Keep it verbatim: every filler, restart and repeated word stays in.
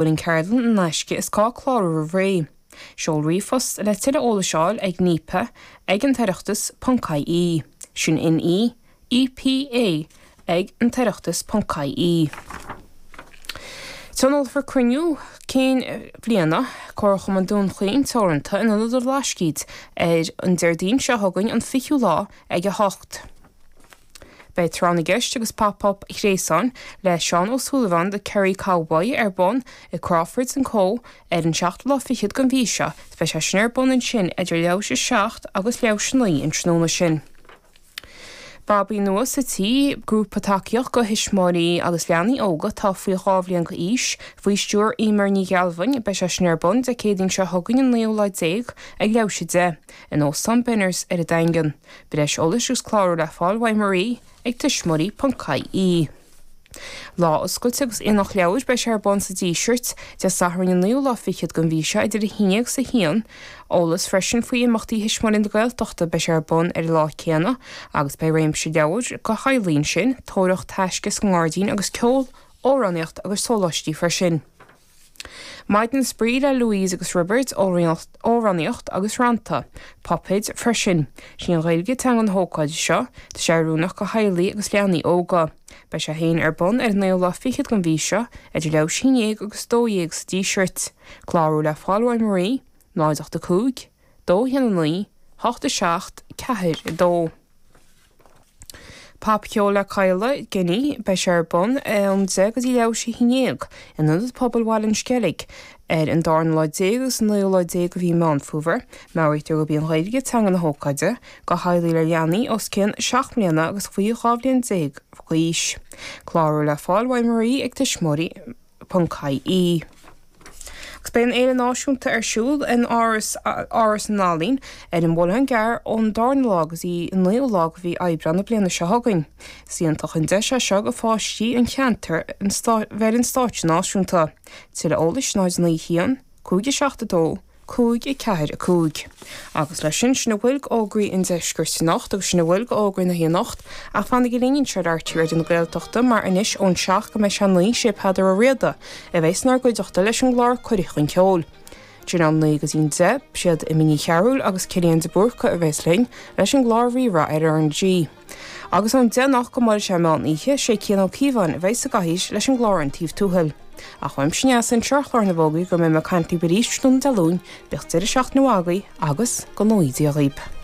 bhfuil an ceardlann in aisce is gá clárú roimh ré. Seol ríomhphost le tuilleadh eolais a fháil ag nepa ag an toireachtas ponc ie. Sin N E E P A ag an toireachtas ponc ie. Tionólfar cruinniú cinn bhliana Comharchumann Dún Chaoin Teoranta in Ionad an Bhlascaoid ar an Déardaoin seo chugainn an fichiú lá ag a hocht. Beidh tráth na gceist agus pop-up gréasáin le Seán Ó Súilleabháin The Kerry Cowboy ar bun i Crawfords and Co ar an seachtú lá fichead den mhí seo, beidh sé sin ar bun ansin idir leathuair tar éis a seacht agus leathuair tar éis a naoi an tráthnóna sin. Babaí nua sa tí, grúpa tacaíocht do thuismitheoirí agus leanaí óga atá faoi dhá bhliain d'aois, faoi stiúir Emer Ní Ghealbhain, beidh sé sin ar bun Dé Céadaoin seo chugainn an naoú lá déag ag leathuair tar éis a deich, in Óstán Benners ar an Daingean. Breis eolais agus clárú le fáil uaidh Marie ag tuismitheoirí ponc ie. Lá oscailte agus aonach leabhar beidh sé ar bun sa Díseart Dé Sathairn an naoú lá fichead den mhí seo idir a haon déag agus a haon, eolas freisin faoi imeachtaí Thuismitheoirí na Gaeltachta beidh sé ar bun ar an lá céanna agus beidh réimse leabhar do theaghlaigh ansin, tóraíocht taisce sa ngairdín agus ceol, amhránaíocht agus sóláistí freisin. Maidin spraoi le Louise agus Roibeard, amhránaíocht agus rannta, puipéid freisin. Sí an Ghaeilge teanga na hócáide seo, tá sé oiriúnach do theaghlaigh agus leanaí óga. Beidh sé féin ar bun ar an naoú lá fichead den mhí seo idir leathuair tar éis a haon déag agus dó dhéag sa Díseart. Clárú le fáil uaidh Marie, náid ocht a cúig, dó haon a naoi, hocht a seacht, ceathair a dó. Popcheol le Kyla Guinea beidh sé ar bun ón deich go dtí leathuair tar éis a haon déag in Ionad Pobail Bhaile an Sceilg ar an darna lá déag agus an naoú lá déag de mhí Meán Fómhair, Meabhraítear gurb í an Ghaeilge teanga na hócáide, do theaghlaigh le leanaí os cionn seacht mbliana agus faoi dhá bhliain déag d'aois. Clárú le fáil uaidh Marie ag tuismitheoirí ponc ie. Agus beidh an Fhéile Náisiúnta ar siúl in Áras Áras na nEalaíon ar an Bhullán Gearr ón darna lá go dtí an naoú lá de mhí Aibreán na bliana seo chugainn. Is iontach an deis é seo do pháistí an cheantair bheith ar an stáitse náisiúnta. Tuilleadh eolais náid naoi haon, cúig a seacht a dó, cúig a ceathair a cúig. Agus leis sin sin a bhfuil d'fhógraí an deiscirt anocht agus sin a bhfuil d'fhógraí na hanocht ach fanaigí linn anseo ar R T Raidió na Gaeltachta mar anois ón seacht go mbeidh sé naoi sé Peadar Ó Riada a bheidh inár gcuideachta leis an gclár Cuireadh chun Ceoil. Idir an naoi go dtí an deich siad Imní Ní Chearúil agus Cillian de Búrca a bheas linn leis an gclár Rí-Rá ar R N G. Agus ón deich go mbeidh sé meán oíche sé Cian Ó Cíobháin a bheidh sa gcathaoir leis an gclár An Taobh Tuathail. Ach uaimse anseo ar chlár na bhfógraí go mbeidh mé ag caint libh arís tráthnóna Dé Luain, bíodh deireadh seachtaine mhaith agaibh agus go ngnóthaí Dia dhaoibh.